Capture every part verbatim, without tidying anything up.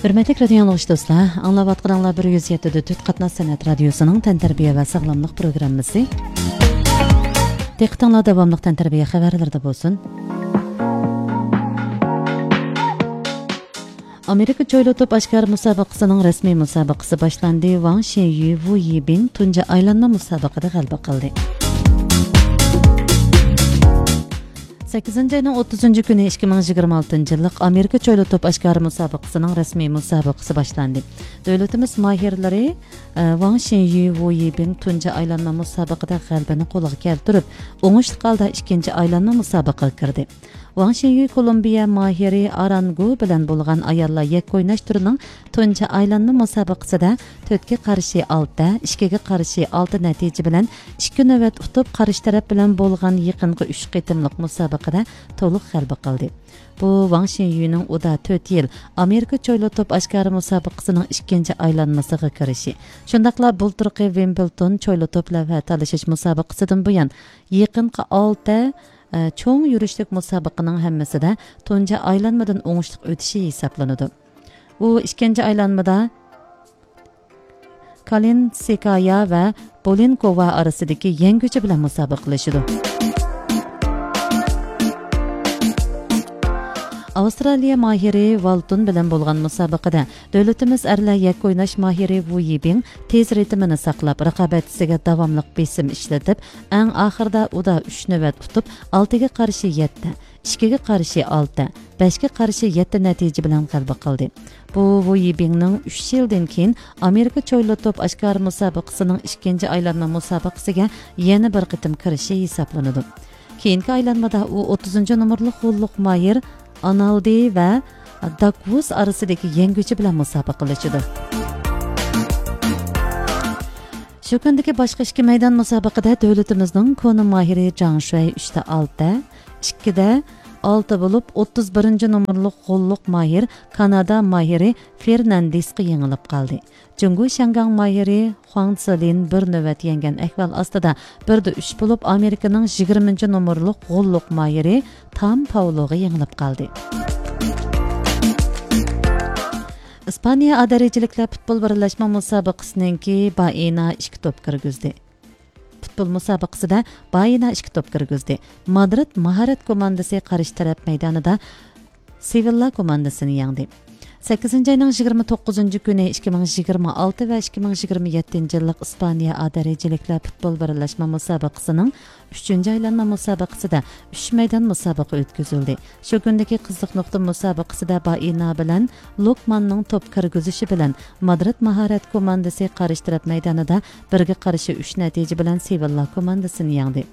ھۆرمەتلىك رادىيو ئاڭلىغۇچى دوستلار، ئاڭلاۋاتقىنىڭلار بىر يۈز يەتتە دۆت قاتناش سەنئەت رادىيوسىنىڭ تەنتەربىيە ۋە ساغلاملىق پروگراممىسى. دىققىتىڭلار داۋاملىق تەنتەربىيە خەۋەرلىرىدە بولسۇن. ئامېرىكا چويلا توپ ئاشكارا مۇسابىقىسىنىڭ رەسمىي مۇسابىقىسى باشلاندى. ۋاڭ شىنيۈ، ۋۇ يىبىڭ تۇنجى ئايلانما مۇسابىقىدە غەلىبە قىلدى. سەككىزىنچى ئاينىڭ ئوتتۇزىنچى كۈنى ئىككى مىڭ يىگىرمە ئالتىنچى يىللىق ئامېرىكا چويلا توپ ئاشكارا مۇسابىقىسىنىڭ رەسمىي مۇسابىقىسى باشلاندى. دۆلىتىمىز ماھىرلىرى، ئە، ۋاڭ شىنيۈ، ۋۇ يىبىڭ تۇنجى ئايلانما مۇسابىقىدە غەلىبىنى قولغا كەلتۈرۈپ، ئوڭۇشلۇق ھالدا ئىككىنچى ئايلانما مۇسابىقىگە كىردى. ۋاڭ شىنيۈ كولومبىيە ماھىرى ئارانگو بىلەن بولغان ئاياللار يەككە ئويناش تۈرىنىڭ تۇنجى ئايلانما مۇسابىقىسىدە تۆتكە قارشى ئالتە، ئىككىگە قارشى ئالتە نەتىجە بىلەن ئىككى نۆۋەت ئۇتۇپ، قارشى تەرەپ بىلەن بولغان يېقىنقى ئۈچ قېتىملىق مۇسابىقىدە تولۇق غەلىبە قىلدى. بۇ ۋاڭ شىنيۈنىڭ ئۇدا تۆت يىل ئامېرىكا چويلا توپ ئاشكارا مۇسابىقىسىنىڭ ئىككىنچى ئايلانمىسىغا كىرىشى، شۇنداقلا بۇلتۇرقى ۋىمبلتون چويلا توپ لەۋھە تالىشىش مۇسابىقىسىدىن بۇيان يېقىنقى ئالتە، ئە، چوڭ يۈرۈشلۈك مۇسابىقىنىڭ ھەممىسىدە تۇنجى ئايلانمىدىن ئوڭۇشلۇق ئۆتۈشى ھېسابلىنىدۇ. ئۇ ئىككىنچى ئايلانمىدا كالىنسكايا ۋە بولېنكوۋا ئارىسىدىكى يەڭگۈچى بىلەن مۇسابىقىلىشىدۇ. ئاۋسترالىيە ماھىرى ۋالتون بىلەن بولغان مۇسابىقىدە دۆلىتىمىز ئەرلەر يەككە ئويناش ماھىرى ۋۇ يىبىڭ تېز رىتىمىنى ساقلاپ، رىقابەتچىسىگە داۋاملىق بېسىم ئىشلىتىپ، ئەڭ ئاخىرىدا ئۇدا ئۈچ نۆۋەت ئۇتۇپ، ئالتىگە قارشى يەتتە، ئىككىگە قارشى ئالتە، بەشكە قارشى يەتتە نەتىجە بىلەن غەلىبە قىلدى. بۇ ۋۇ يىبىڭنىڭ ئۈچ يىلدىن كېيىن ئامېرىكا چويلا توپ ئاشكارا مۇسابىقىسىنىڭ ئىككىنچى ئايلانما مۇسابىقىسىگە يەنە بىر قېتىم كىرىشى ھېسابلىنىدۇ. كېيىنكى ئايلانمىدا ئۇ ئوتتۇزىنچى نومۇرلۇق غوللۇق ماھىر ئانالدى ۋە داكۋۇس ئارىسىدىكى يەڭگۈچى بىلەن مۇسابىقىلىشىدۇ. شۇ كۈندىكى باشقا ئىككى مەيدان مۇسابىقىدە دۆلىتىمىزنىڭ كونا ماھىرى جاڭ شۈەي ئۈچتە ئالتە، ئىككىدە ئالتە بولۇپ، ئوتتۇز بىرىنچى نومۇرلۇق غوللۇق ماھىر كانادا ماھىرى فېرناندېسقا يېڭىلىپ قالدى. جۇڭگو شياڭگاڭ ماھىرى خۇاڭ سىلىن بىر نۆۋەت يەڭگەن ئەھۋال ئاستىدا بىردە ئۈچ بولۇپ، ئامېرىكىنىڭ يىگىرمىنچى نومۇرلۇق غوللۇق ماھىرى تام پاۋلوغا يېڭىلىپ قالدى. ئىسپانىيە ئا دەرىجىلىكلەر پۇتبول بىرلەشمە مۇسابىقىسىنىڭكى بائىنا ئىككى توپ كىرگۈزدى. پۇتبول مۇسابىقىسىدە بائىنا ئىككى توپ كىرگۈزدى. مادرىد ماھارەت كوماندىسى قارشى تەرەپ مەيدانىدا سېۋىللا كوماندىسىنى يەڭدى. سەككىزىنچى ئاينىڭ يىگىرمە توققۇزىنچى كۈنى ئىككى مىڭ يىگىرمە ئالتە ۋە ئىككى مىڭ يىگىرمە يەتتىنچى يىللىق ئىسپانىيە ئا دەرىجىلىكلەر پۇتبول بىرلەشمە مۇسابىقىسىنىڭ ئۈچىنچى ئايلانما مۇسابىقىسىدە ئۈچ مەيدان مۇسابىقە ئۆتكۈزۈلدى. شۇ كۈندىكى قىزىق نۇقتا مۇسابىقىسىدە بائىنا بىلەن لوكماننىڭ توپ كىرگۈزۈشى بىلەن مادرىد ماھارەت كوماندىسى قارشى تەرەپ مەيدانىدا بىرگە قارشى ئۈچ نەتىجە بىلەن سېۋىللا كوماندىسىنى يەڭدى.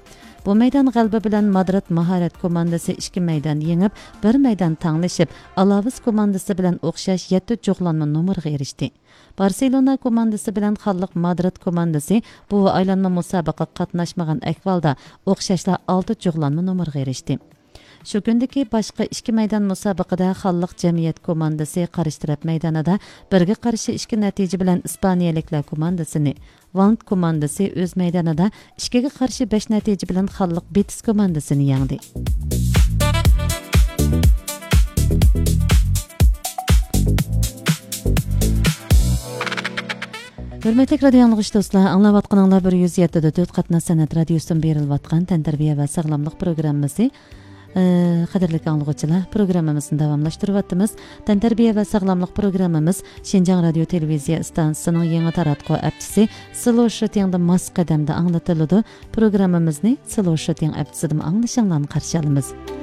بۇ مەيدان غەلىبە بىلەن مادرىد ماھارەت كوماندىسى ئىككى مەيدان يېڭىپ، بىر مەيدان تەڭلىشىپ، ئالاۋېس كوماندىسى بىلەن ئوخشاش يەتتە جۇغلانما نومۇرغا ئېرىشتى. بارسېلونا كوماندىسى بىلەن خانلىق مادرىد كوماندىسى بۇ ئايلانما مۇسابىقىگە قاتناشمىغان ئەھۋالدا ئوخشاشلا ئالتە جۇغلانما نومۇرغا ئېرىشتى. شۇ كۈندىكى باشقا ئىككى مەيدان مۇسابىقىدە خانلىق جەمئىيەت كوماندىسى قارشى تەرەپ مەيدانىدا بىرگە قارشى ئىككى نەتىجە بىلەن ئىسپانىيەلىكلەر كوماندىسىنى، ۋانت كوماندىسى ئۆز مەيدانىدا ئىككىگە قارشى بەش نەتىجە بىلەن خانلىق بېتىس كوماندىسىنى يەڭدى. ھۆرمەتلىك رادىيو ئاڭلىغۇچى دوستلار، ئاڭلاۋاتقىنىڭلار بىر يۈز يەتتە دۆت قاتناش سەنئەت رادىيوسىدىن بېرىلىۋاتقان تەنتەربىيە ۋە ساغلاملىق پروگراممىسى. ئە، قەدىرلىك ئاڭلىغۇچىلار، پروگراممىمىزنى داۋاملاشتۇرۇۋاتىمىز. تەنتەربىيە ۋە ساغلاملىق پروگراممىمىز شىنجاڭ رادىيو تېلېۋىزىيە ئىستانسىسىنىڭ يېڭى تاراتقۇ ئەپچىسى سلو شىتىڭدا ماس قەدەمدە ئاڭلىتىلىدۇ. پروگراممىمىزنى سلو شىتىڭ ئەپچىسىدىمۇ ئاڭلىشىڭلارنى قارشى ئالىمىز.